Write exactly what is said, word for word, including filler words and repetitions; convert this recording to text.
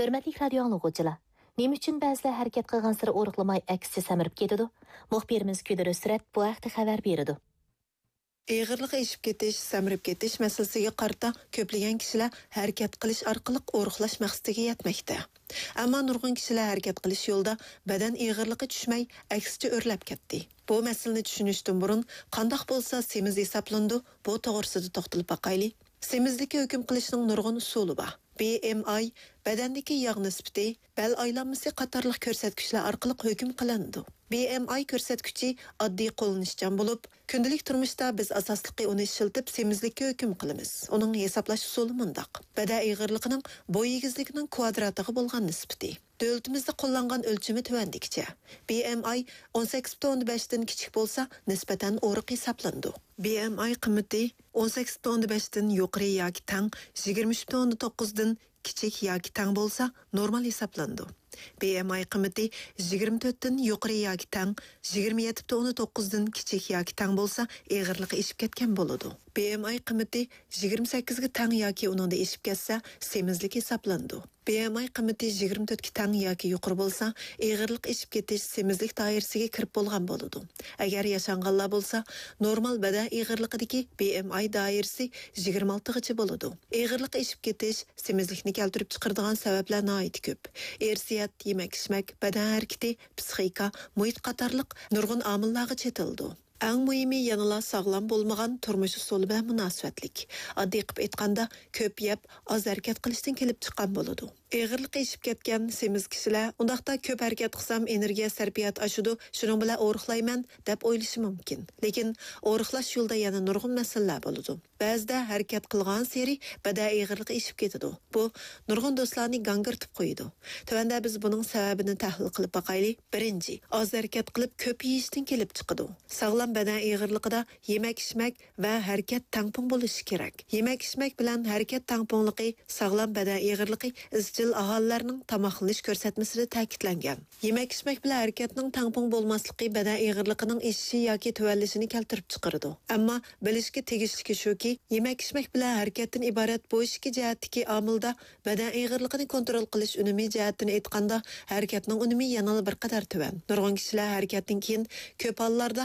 ھۆرمەتلىك رادىيو ئاڭلىغۇچىلار، نېمە ئۈچۈن بەزىلەر ھەرىكەت قىلغانسېرى ئورۇقلىماي، ئەكسىچە سەمرىپ كېتىدۇ؟ مۇخبىرىمىز كۈدۈر ھۆسرەت بۇ ھەقتە خەۋەر بېرىدۇ. ئېغىرلىقى ئېشىپ كېتىش، سەمرىپ كېتىش مەسىلىسىگە قارىتا كۆپلىگەن كىشىلەر ھەرىكەت قىلىش ئارقىلىق ئورۇقلاش مەقسىتىگە يەتمەكتە. ئەمما نۇرغۇن كىشىلەر ھەرىكەت قىلىش يولىدا بەدەن ئېغىرلىقى چۈشمەي، ئەكسىچە ئۆرلەپ كەتتى. بۇ مەسىلىنى چۈشىنىشتىن بۇرۇن، قانداق بولسا سېمىز ھېسابلىنىدۇ، بۇ توغرىسىدا توختىلىپ باقايلى. سېمىزلىككە ھۆكۈم قىلىشنىڭ نۇرغۇن ئۇسۇلى بار. بى ئېم ئاي بەدەندىكى ياغ نىسبىتى، بەل ئايلانمىسى قاتارلىق كۆرسەتكۈچلەر ئارقىلىق ھۆكۈم قىلىنىدۇ. بى ئېم ئاي كۆرسەتكۈچى ئاددىي، قوللىنىشچان بولۇپ، كۈندىلىك تۇرمۇشتا بىز ئاساسلىقى ئۇنى ئىشلىتىپ سېمىزلىككە ھۆكۈم قىلىمىز. ئۇنىڭ ھېسابلاش ئۇسۇلى مۇنداق: بەدەن ئېغىرلىقىنىڭ بوي ئېگىزلىكىنىڭ كۋادراتىغا بولغان نىسبىتى. دۆلىتىمىزدە قوللانغان ئۆلچىمى تۆۋەندىكىچە: بى ئېم ئاي ئون سەككىز پۈتۈن ئوندىن بەشتىن كىچىك بولسا، نىسبەتەن ئورۇق ھېسابلىنىدۇ. بى ئېم ئاي قىممىتى ئون سەككىز پۈتۈن ئوندىن بەشتىن يۇقىرى ياكى تەڭ، يىگىرمە ئۈچ پۈتۈن ئوندىن توققۇزدىن كىچىك ياكى تەڭ بولسا، نورمال ھېسابلىنىدۇ. بى ئېم ئاي قىممىتى يىگىرمە تۆتتىن يۇقىرى ياكى تەڭ، يىگىرمە يەتتە پۈتۈن ئوندىن توققۇزدىن كىچىك ياكى تەڭ بولسا، ئېغىرلىقى ئېشىپ كەتكەن بولىدۇ. بى ئېم ئاي قىممىتى يىگىرمە سەككىزگە تەڭ ياكى ئۇنىڭدىن ئېشىپ كەتسە، سېمىزلىك ھېسابلىنىدۇ. بى ئېم ئاي قىممىتى يىگىرمە تۆتكە تەڭ ياكى يۇقىرى بولسا، ئېغىرلىق ئېشىپ كېتىش سېمىزلىك دائىرىسىگە كىرىپ بولغان بولىدۇ. ئەگەر ياشانغانلار بولسا، نورمال بەدەن ئېغىرلىقىدىكى بى ئېم ئاي دائىرىسى يىگىرمە ئالتىغىچە بولىدۇ. ئېغىرلىق ئېشىپ كېتىش، سېمىزلىكنى كەلتۈرۈپ چىقىرىدىغان سەۋەبلەر ناھايىتى كۆپ. ئىرسىيەت، يېمەك-ئىچمەك، بەدەن ھەرىكىتى، پىسخىكا، مۇھىت قاتارلىق نۇرغۇن ئامىللارغا چېتىلىدۇ. ئەڭ مۇھىمى يەنىلا ساغلام بولمىغان تۇرمۇش ئۇسۇلى بىلەن مۇناسىۋەتلىك. ئاددىي قىلىپ ئېيتقاندا، كۆپ يەپ، ئاز ھەرىكەت قىلىشتىن كېلىپ چىققان بولىدۇ. ئېغىرلىقى ئېشىپ كەتكەن سېمىز كىشىلەر، ئۇنداقتا كۆپ ھەرىكەت قىلسام ئېنېرگىيە سەرپىياتى ئاشىدۇ، شۇنىڭ بىلەن ئورۇقلايمەن، دەپ ئويلىشى مۇمكىن. لېكىن ئورۇقلاش يولىدا يەنە نۇرغۇن مەسىلىلەر بولىدۇ. بەزىدە ھەرىكەت قىلغانسېرى بەدەن ئېغىرلىقى ئېشىپ كېتىدۇ. بۇ نۇرغۇن دوستلارنى گاڭگىرىتىپ قويىدۇ. تۆۋەندە بىز بۇنىڭ سەۋەبىنى تەھلىل قىلىپ باقايلى. بىرىنچى، ئاز ھەرىكەت قىلىپ كۆپ يېيىشتىن كېلىپ چىقىدۇ. ساغلام بەدەن ئېغىرلىقىدا يېمەك-ئىچمەك ۋە ھەرىكەت تەڭپۇڭ بولۇشى كېرەك. يېمەك-ئىچمەك بىلەن ھەرىكەت تەڭپۇڭلۇقى، ساغلام بەدەن ئېغىرلىقى ئىزچىل ئاھالىلەرنىڭ تاماقلىنىش كۆرسەتمىسىدە تەكىتلەنگەن. يېمەك-ئىچمەك بىلەن ھەرىكەتنىڭ تەڭپۇڭ بولماسلىقى بەدەن ئېغىرلىقىنىڭ ئېشىشى ياكى تۆۋەنلىشىنى كەلتۈرۈپ چىقىرىدۇ. ئەمما بىلىشكە تېگىشلىكى شۇكى، يېمەك-ئىچمەك بىلەن ھەرىكەتتىن ئىبارەت بۇ ئىككى جەھەتتىكى ئامىلدا بەدەن ئېغىرلىقىنى كونترول قىلىش ئۈنۈمى جەھەتتىن ئېيتقاندا، ھەرىكەتنىڭ ئۈنۈمى يەنىلا بىر قەدەر تۆۋەن. نۇرغۇن كىشىلەر ھەرىكەتتىن كېيىن كۆپ ھاللاردا